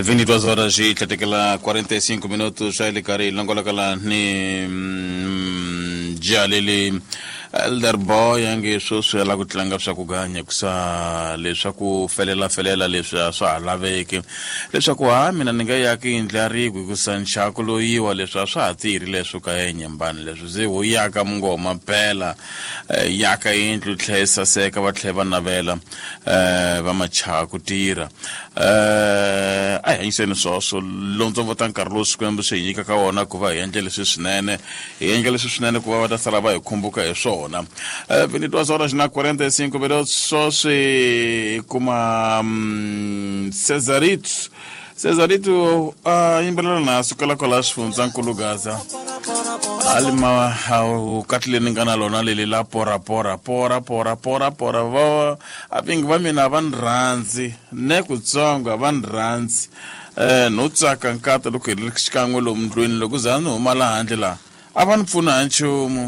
22 horas e tlhatekela 45 minutos a le karhi hi longolokela ni jalele elder boy ange sweswi ala ku tlanga swa ku ganya kusa leswaku felela felela leswi a swa ha laveki leswaku ha mina ni nga yaki yindlu ya rikwi hikusa nxaku loyiwa leswi a swa ha tirhi leswo ka enyembani leswi se ho yaka mungoma phela eh, yaka yindlu tlhe yi saseka va tlhe va navela eh, va machaha ku tirha eh, a hi hanyiseni swoswo lontsongo ta nkarhi lowu Xikwembu xi hi nyikaka wona ku va hi endle leswi swinene hi endla leswi swinene ku va va ta sala va hi khumbuka hi swona. 22 horas na 45 minutos swoswi hi kuma Cesarito Cesarito a yimbelela na sukela kwala xifundzankulu Gaza a li ma katlile ni nga na lona leli la pora pora pora pora pora pora va a vingi va mina a va ni rhandzi ne kutsongo a va ni rhandzi um no tsaka nkata loko hi ri xikan'we lomu ndlwini loko za ni huma laha handle laha a va ni pfuna ha nchumu.